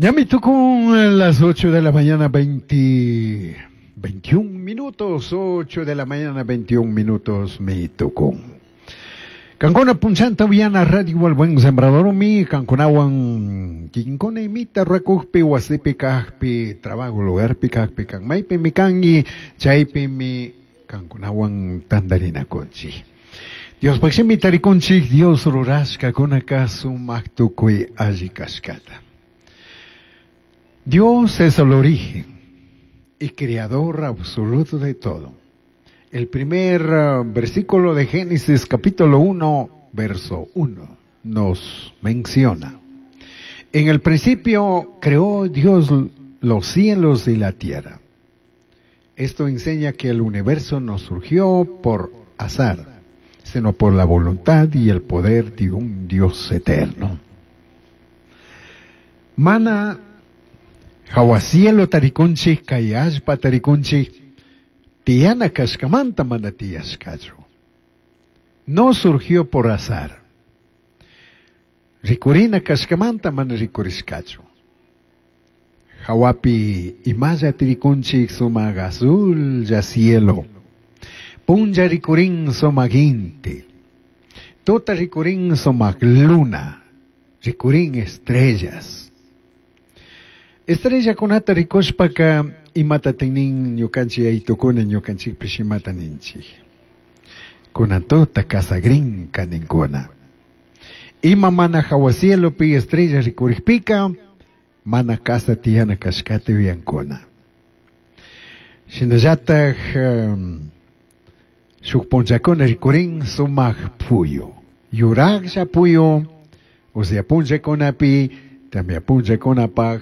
Ñami tukun las 8 de la mañana 21 minutos, 8 de la mañana 21 minutos mi tukun. Kankuna punchanta uyana radio El Buen Sembrador mi kankunawan kikinkuna imita rurakukpi wasipi kajpi trabajo lugarpi kajpi kan maypi mi kanki chaypi mi kankunawan tantarinakunchik. Diospaj shimi tarikunchik Dios rurashkakunaka sumak tukuy alli kashkata. Dios es el origen y creador absoluto de todo. El primer versículo de Génesis capítulo 1, verso 1, nos menciona: en el principio creó Dios los cielos y la tierra. Esto enseña que el universo no surgió por azar, sino por la voluntad y el poder de un Dios eterno. Mana jahua cielo tarikunchik, kay allpa tarikunchik, tiyana kashkamanta mana tiyashkachu. No surgió por azar. Rikurina kashkamanta mana rikurishkachu. Jawapi imalla tirikunchik sumak azul ya cielo. Punlla rikurin sumak inti. Tuta rikurin sumak luna. Rikurin estrellas. Estrella kunata rikushpaka imata tinin ñukanchik aytukuna ñukanchikpish imata ninchik. Kunan tuta kasagrinka ninkuna. Ima mana jawa cielopi estrella rikurikpika mana kasa tiyana kashkata yuyankuna. Shinallatak shuk punllakuna rikurin sumak puyu. Yuraklla puyu, usya punllakunapi, tamya punllakunapaj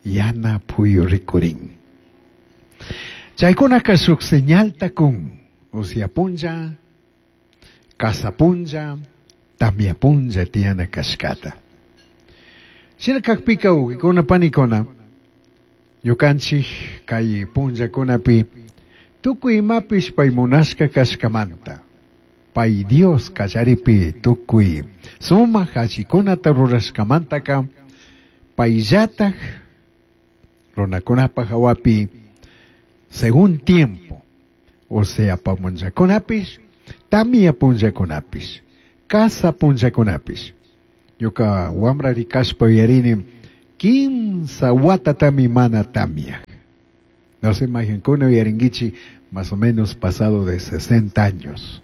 yana puyu rikurin. Chaykunaka shuk señalta kun, usya punlla, kasa punlla, tamya punlla tiyana kashkata. Shina kakpika wawqikuna panikuna, ñukanchik kay punllakunapi tukuy imapish pay munashka kashkamanta, pay Dios kallaripi tukuy sumak allikunata rurashkamantaka, payllataj runakunapaj hawapi según tiempo, o sea punllakunapish, tamya punllakunapish, kasa punllakunapish. Ñuka wamra rikashpa uyarini 15 watatami mana tamya. No se imaginkuna uyarinkichi más o menos pasado de 60 años.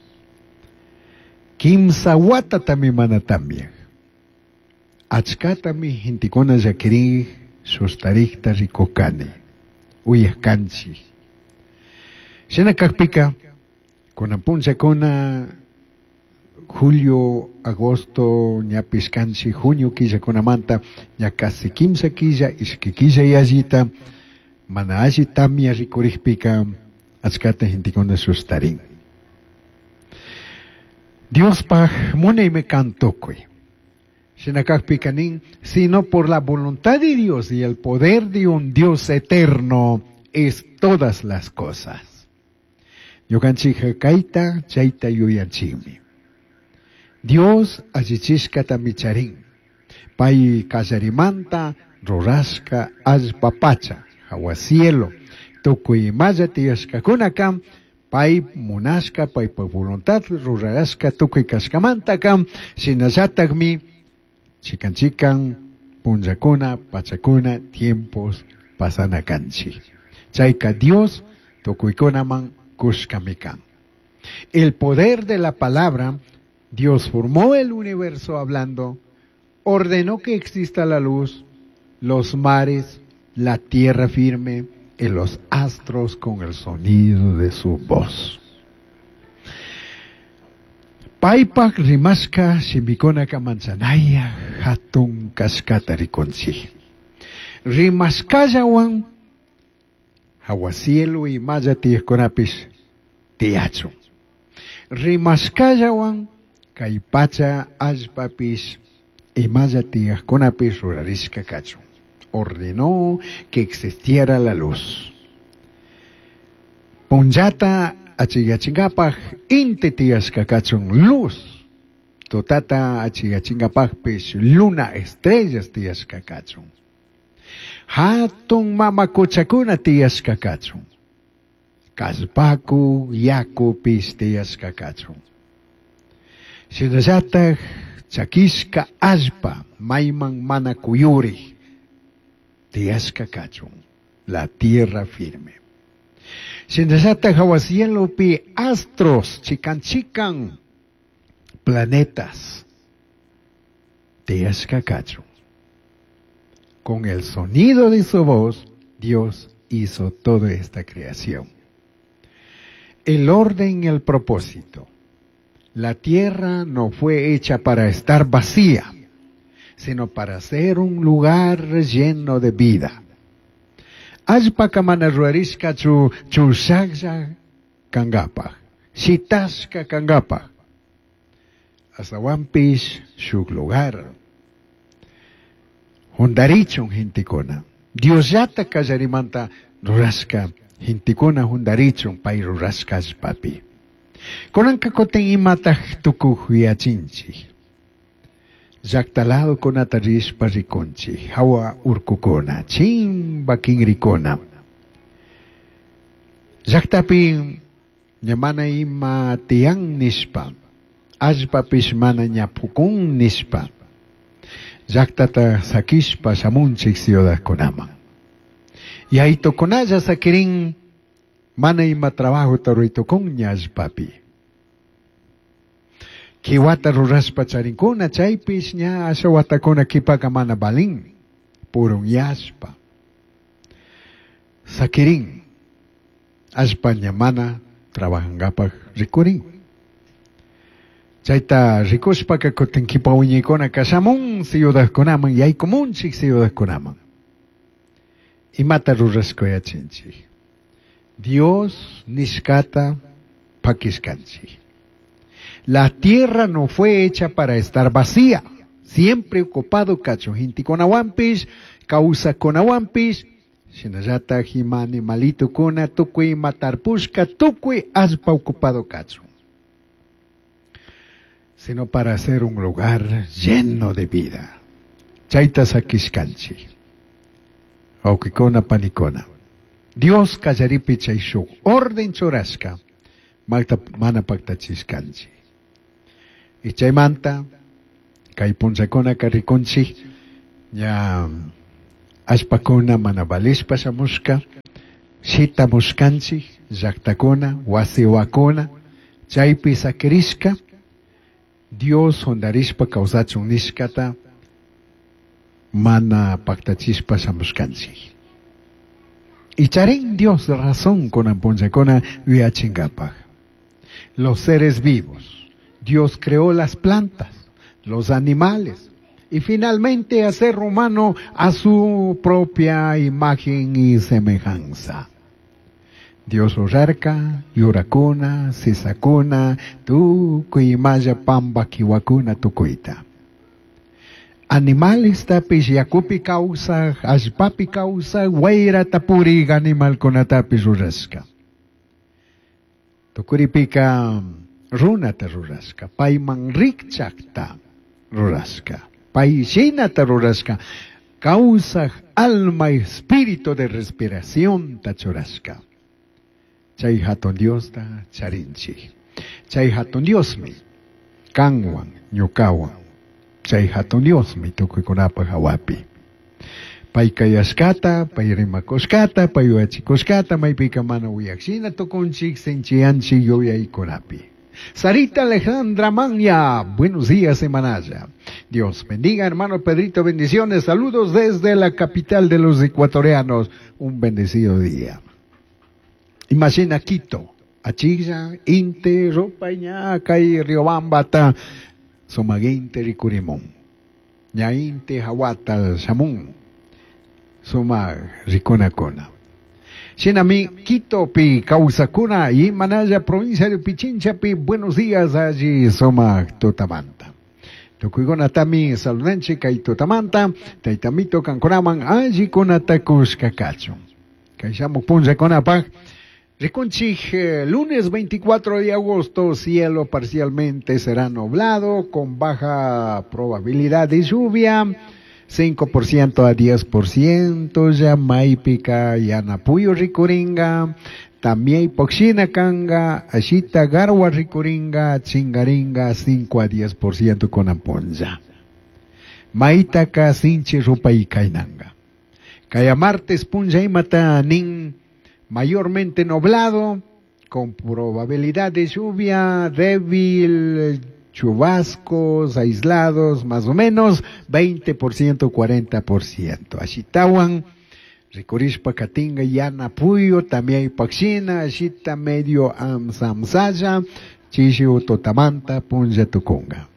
15 watatami mana tamya. Achkatami gentekuna llakirin sustarikta rikukani, uyajkanchik. Shina kakpika, kunan punllakuna, julio, agosto, ñapish kanchik, junio killakunamanta, ña casi 15 killa, ishki killa yallita, mana alli tamya rikurikpika, achkata gentekuna sustarin. Diospaj munaymi kan tukuy. Shina kakpika nin, sino por la voluntad de Dios y el poder de un Dios eterno es todas las cosas. Ñukanchik kayta, chayta yuyanchikmi. Dios allichishkata micharin. Pay kallarimanta rurashka allpa pacha, jawa cielo, tukuy imalla tiyashkakunaka, pay munashka, paypa voluntad rurashka tukuy kashkamantaka, shinallatakmi chikan chikan punllakuna, pachakuna, tiempos pasana kanchik. Chayka Dios tukuykunaman kushkami kan. El poder de la palabra, Dios formó el universo hablando, ordenó que exista la luz, los mares, la tierra firme y los astros con el sonido de su voz. Paypak rimashka shimikunaka manchanaya hatun kashkata rikunchik. Rimashkallawan hawa cielo imalla tiyaqkunapish tiyachun. Rimashkallawan kay pacha allpapish imalla tiyaqkunapish rurarishka kachun. Ordenó que existiera la luz. Punllata achiyachingapaj inti tiyashka kachun luz. Tutata achiyachingapajpish luna estrellas tiyashka kachun. Hatun mama quchakuna tiyashka kachun. Kallpaku yakupish tiyashka kachun. Shinallataj chakishka allpa mayman mana kuyurik tiyashka kachun. La tierra firme. Shinallataj hawa cielopi astros chikan chikan planetas tiyashka kachun. Con el sonido de su voz, Dios hizo toda esta creación. El orden y el propósito. La tierra no fue hecha para estar vacía, sino para ser un lugar lleno de vida. Allpaka mana rurarishkachu chushaklla kangapaj, shitashka kangapaj. Ashtahuanpish shuk lugar. Jundarichun gentekuna. Diosllata kallarimanta rurashka gentekuna jundarichun pay rurashka allpapi. Kunanka kutin imataj tukuj yachinchik. Llakta ladokunata rishpa rikunchik, hawa urkukuna, chimba kinrikuna. Llaktapi ña mana ima tiyan nishpa, allpapish mana ña pukun nishpa, llaktata sakishpa shamunchik ciudadkunaman. Yaytukunalla sakirin mana ima trabajota ruraytukun ña allpapi. Kiwata rurashpa charinkuna chaypish ña asha watakuna kipaka mana balin, purunyashpa. Sakirin, allpa ña mana trabajankapaj rikurin. Chayta rikushpaka kutin kipa wiñaykuna kashamun ciudadkunaman yaykumunchik ciudadkunaman. Imata rurashka yachinchik. Dios nishkata pakishkanchik. La tierra no fue hecha para estar vacía, siempre ocupado kachun gentekunawanpish, kawsakkunawanpish, shinallataj ima animalitukuna tukuy ima tarpushka tukuy allpa ocupado kachun. Sino para hacer un lugar lleno de vida. Chayta sakishkanchik. Wawqikuna panikuna. Dios kallaripi chay shuk orden churashka mana paktachishkanchik. Y chaymanta kay punllakunaka rikunchik ña allpakuna mana valishpa shamushka, shitamushkanchik llaktakuna, wasiwakuna, chaypi sakirishka, Dios jundarishpa kawsachun nishkata mana paktachishpa shamushkanchik. Y charin Dios razón kunan punllakuna yuyachinkapak. Los seres vivos. Dios creó las plantas, los animales y finalmente a ser humano a su propia imagen y semejanza. Dios rurarka, yurakuna, sisakuna, tukuy imalla pamba kiwakuna tukuyta. Animales tapish yakupi kawsaj, allpapi kawsaj, wayrata purik animalkunatapish rurashka. Tukuripika runata rurashka, payman rikchakta rurashka, pay shinata rurashka, kawsaj alma espíritu de respiración ta churashka. Chay hatun Diosta charinchik. Chay hatun Diosmi kanwan ñukawan. Chay hatun Diosmi tukuykunapaj hawapi. Pay kayashkata, pay rimakushkata, pay yuyachikushkata, maypika mana uyakshina tukunchik sinchiyanchik yuyaykunapi. Sarita Alejandra Manya, buenos días, semanaya. Dios bendiga, hermano Pedrito, bendiciones, saludos desde la capital de los ecuatorianos. Un bendecido día. Imagina Quito, Achilla, Inte, Rupaña, Kay, Riobamba, Sumaguinte, Ricurimón. Ña Inte, Hawata, Shamun, Suma, Riconacona. Shinami, Quito, pi, Causacuna, y Manaya, provincia de Pichincha, pi, buenos días allí, Soma, Tutamanta. Tukuykuna-tami saludanchik kay tutamanta, taytamito kankunaman alli kunata kushka kachun. Kay shamuk punllakunapaj, rikunchik, lunes 24 de agosto, cielo parcialmente será nublado, con baja probabilidad de lluvia. 5% a 10% ya maypika yana puyu rikuringa, también poxina kanga, ashita garwa rikuringa, chingaringa 5 a 10% con amponja. Maitaka sinchi rupay kainanga. Kaya martes punlla imata nin mayormente nublado, con probabilidad de lluvia débil, chubascos aislados, más o menos 20%, 40%. Ashitawan, rikurishpa katinga yana puyo, también paxina, ashita medio amsamsaya, chishi utotamanta, punlla tukunga.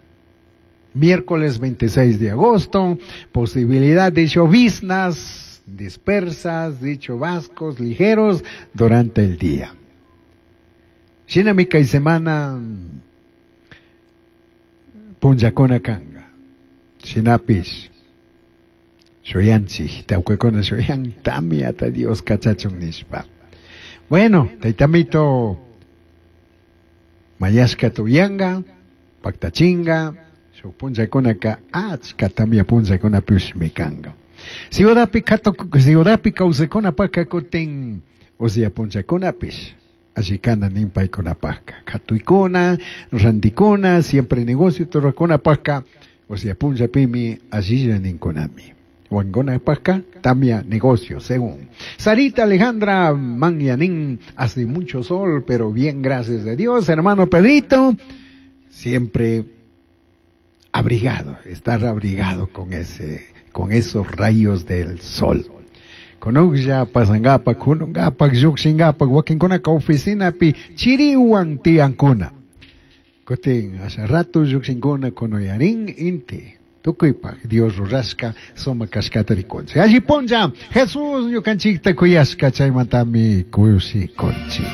Miércoles 26 de agosto, posibilidad de lloviznas dispersas, de chubascos ligeros durante el día. Shinamika y semana punllakuna kanga. Shinapish shuyanchik, tawkakuna shuyan, tamiata Dios kachachun nishpa. Bueno, taytamito mayashka tuyanga, paktachinga, shuk punllakunaka achka tamya punllakunapishmi kanga. Ciudadpi ciudadpi kawsakunapaka kutin usya punllakunapish allikana nin paykunapaka. Katuykuna, rantikuna, siempre negocio rurakunapaka, usya punllapimi allilla ninkunami. Wankunapaka tamia negocio, según. Sarita Alejandra Manyanín, hace mucho sol, pero bien, gracias a Dios. Hermano Pedrito, siempre abrigado, estar abrigado con con esos rayos del sol. Kunuklla pasangapa, kunungapa, lluqshingapa, wakinkunaka oficinapi chiriwan tiyankuna. Kutin asha rato lluqshinkuna kunuyarin inti. Tukuypaq Dios rurashka sumak kashkata rikunchik. Alli punlla Jesús ñukanchikta kuyashka chaymantami kushikunchik.